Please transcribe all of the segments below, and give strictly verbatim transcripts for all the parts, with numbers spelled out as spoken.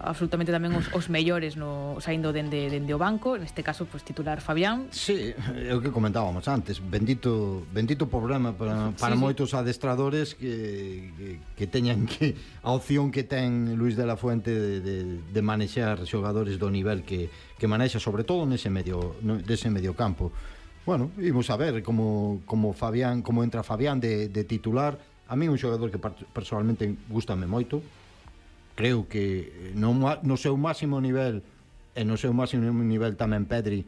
absolutamente tamén os, os mellores no, saindo dende, dende o banco, neste caso pues, titular Fabián. Sí, é o que comentábamos antes, bendito bendito problema para, para sí, moitos sí. adestradores que, que, que teñan que a opción que ten Luis de la Fuente de, de, de manexar xogadores do nivel que, que manexa, sobre todo nese medio, nese medio campo. Bueno, imos a ver como, como Fabián, como entra Fabián de, de titular. A mí un xogador que personalmente gustame moito. Creo que no, no seu máximo nivel e no seu máximo nivel tamén Pedri,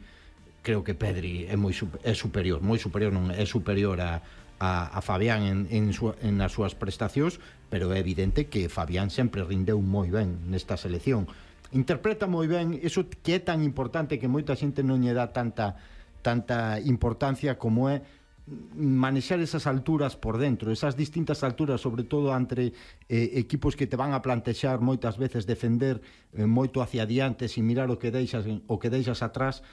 creo que Pedri é moi é superior, moi superior, non é superior a, a, a Fabián en, en, su, en as súas prestacións, pero é evidente que Fabián sempre rindeu moi ben nesta selección. Interpreta moi ben iso que é tan importante que moita xente non lle dá tanta tanta importancia como é manexar esas alturas por dentro, esas distintas alturas, sobre todo entre eh, equipos que te van a plantexar moitas veces defender eh, moito hacia adiante sin mirar o que deixas o que deixas atrás.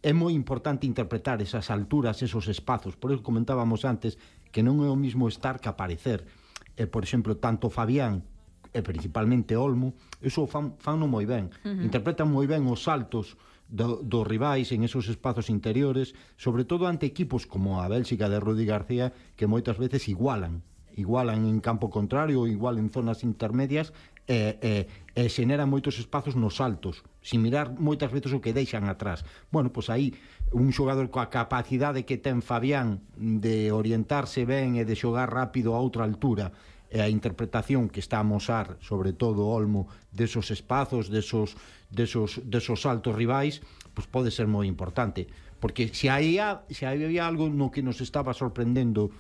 É moi importante interpretar esas alturas, esos espazos. Por eso comentábamos antes que non é o mismo estar que aparecer. Eh, por exemplo, tanto Fabián e principalmente Olmo, eso fan, fan no moi ben. Uh-huh. Interpretan moi ben os saltos Do, dos rivais en esos espazos interiores, sobre todo ante equipos como a Bélxica de Rudi García, que moitas veces igualan igualan en campo contrario, igual en zonas intermedias e, e, e xeneran moitos espazos nos saltos, sin mirar moitas veces o que deixan atrás. Bueno, pois aí un xogador coa capacidade que ten Fabián de orientarse ben e de xogar rápido a outra altura, e a interpretación que está a amosar, sobre todo Olmo, desos espazos, desos, desos, desos saltos rivais, pues pode ser moi importante, porque se había, se había algo no que nos estaba sorprendendo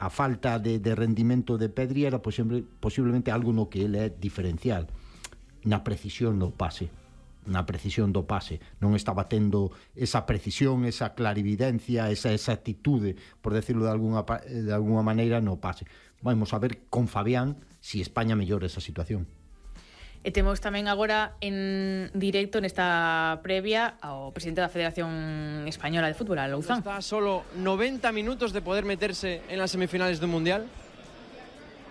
a falta de, de rendimento de Pedri, era posible, posiblemente algo no que ele é diferencial, na precisión do pase, na precisión do pase, non estaba tendo esa precisión, esa clarividencia, esa exactitude, por decirlo de alguna, de alguna maneira, no pase. Vamos a ver con Fabián si España mellora esa situación. E temos tamén agora en directo nesta previa ao presidente da Federación Española de Fútbol, a Louzán. Está solo noventa minutos de poder meterse en las semifinales del Mundial.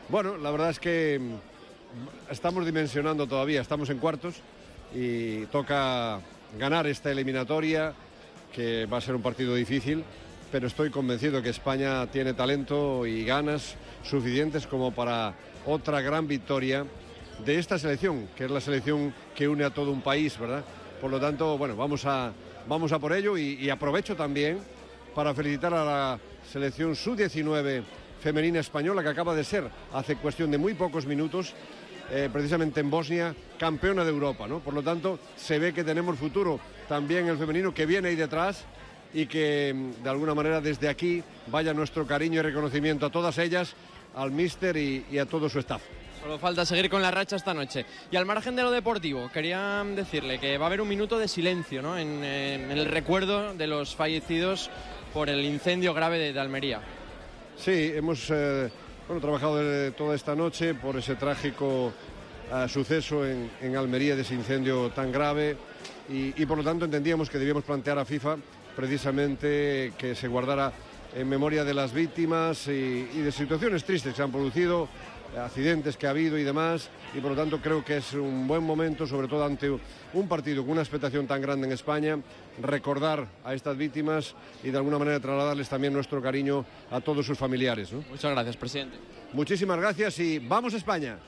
Bueno, la verdad es que estamos dimensionando todavía, estamos en cuartos y toca ganar esta eliminatoria, que va a ser un partido difícil, pero estoy convencido que España tiene talento y ganas suficientes como para otra gran victoria de esta selección, que es la selección que une a todo un país, ¿verdad? Por lo tanto, bueno, vamos a, vamos a por ello y, y aprovecho también para felicitar a la selección sub diecinueve femenina española, que acaba de ser, hace cuestión de muy pocos minutos, eh, precisamente en Bosnia, campeona de Europa, ¿no? Por lo tanto, se ve que tenemos futuro también el femenino, que viene ahí detrás, y que de alguna manera desde aquí vaya nuestro cariño y reconocimiento a todas ellas, al míster y, y a todo su staff. Solo falta seguir con la racha esta noche. Y al margen de lo deportivo, quería decirle que va a haber un minuto de silencio, ¿no? en, en el recuerdo de los fallecidos por el incendio grave de, de Almería. Sí, hemos eh, bueno, trabajado de, toda esta noche por ese trágico eh, suceso en, en Almería, de ese incendio tan grave, y, y por lo tanto entendíamos que debíamos plantear a FIFA precisamente que se guardara en memoria de las víctimas y, y de situaciones tristes que se han producido, accidentes que ha habido y demás, y por lo tanto creo que es un buen momento, sobre todo ante un partido con una expectación tan grande en España, recordar a estas víctimas y de alguna manera trasladarles también nuestro cariño a todos sus familiares, ¿no? Muchas gracias, presidente. Muchísimas gracias y ¡vamos España!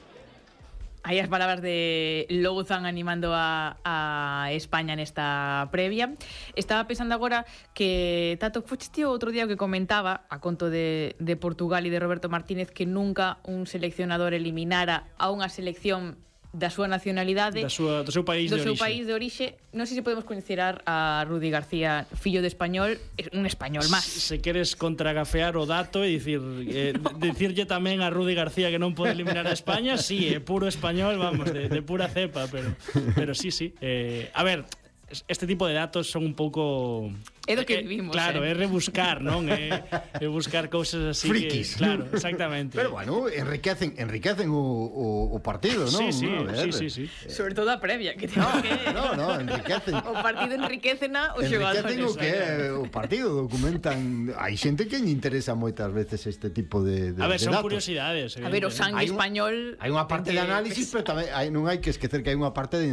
Aí as palabras de Louzán animando a, a España nesta previa. Estaba pensando agora que Tato, foches tío outro día que comentaba a conto de, de Portugal e de Roberto Martínez que nunca un seleccionador eliminara a unha selección da súa nacionalidade, da súa, do seu país do de seu orixe. país de orixe. Non sei se podemos considerar a Rudi García fillo de español, un español máis. Se queres contragafear o dato e dicir eh, dicirlle tamén a Rudi García que non pode eliminar a España, sí, é puro español, vamos, de, de pura cepa, pero pero sí, sí. Eh, a ver, este tipo de datos son un pouco É do que Eh, vivimos, Claro, eh. é rebuscar, non? É, é buscar cousas así Frikis. que, claro, exactamente. Pero bueno, enriquecen enriquecen o, o, o partido, non? Sí, sí, A ver. sí, sí, sí. Sobre todo a previa, que ten que... No, no, enriquecen. O partido enriquecena os Enriquecen o xogadores. que é o partido, documentan. Hai xente que lle interesa moitas veces este tipo de, de A ver, de son datos. curiosidades. A ver, o evidentemente. sangue Hai un- español... Hai unha parte de ten que- análisis, pero tamén hai, non hai que esquecer que hai unha parte de